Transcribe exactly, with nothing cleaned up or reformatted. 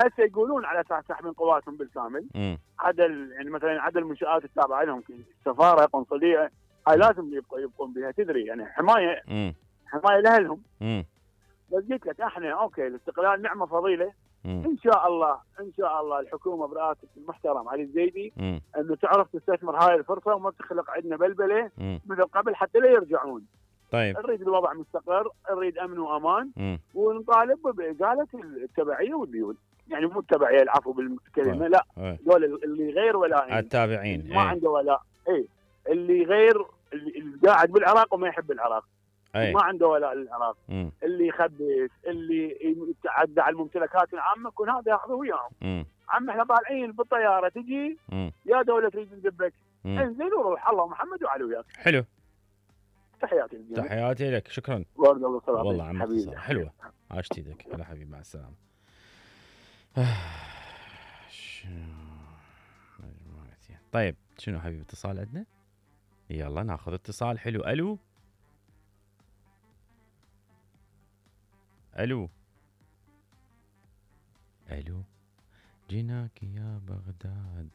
هسه يقولون على اساس تحميل قواتهم بالكامل. عدد يعني مثلا عدد المنشآت التابعه لهم سفاره قنصليه هاي لازم يبقوا يبقون بها، تدري يعني حمايه مم. حمايه لاهلهم. مم. بس قلت لك احنا اوكي الاستقلال نعمه فضيله. مم. ان شاء الله ان شاء الله الحكومه برئاسه المحترم علي الزيدي مم. انه تعرف تستثمر هاي الفرصه وما تخلق عندنا بلبله مم. مثل قبل حتى لا يرجعون. طيب نريد الوضع مستقر، نريد امن وامان، مم. ونطالب بازاله التبعيه والديون. يعني مو التبعيه العفو بالكلمه، طيب. لا أي. دول اللي غير ولائين التابعين ما أي. عنده ولاء، اي اللي غير اللي قاعد بالعراق وما يحب العراق، أي. ما عنده ولاء للعراق، مم. اللي يخبث، اللي يتعدى على الممتلكات العامه، كل هذا ياخذه وياهم. مم. عم احنا طالعين بالطياره تجي مم. يا دوله تريد تدبك، مم. انزل وروح، الله محمد وعلي وياك. حلو. تحياتي للجميع. تحياتي لك، شكرا. ورد الله صلاة والله عمك حبيبي اتصال حلوه. عاشت ايدك. هلا حبيبي، مع السلامه. طيب شنو حبيبي، اتصال عندنا؟ يلا ناخذ اتصال حلو. الو الو الو جيناك يا بغداد.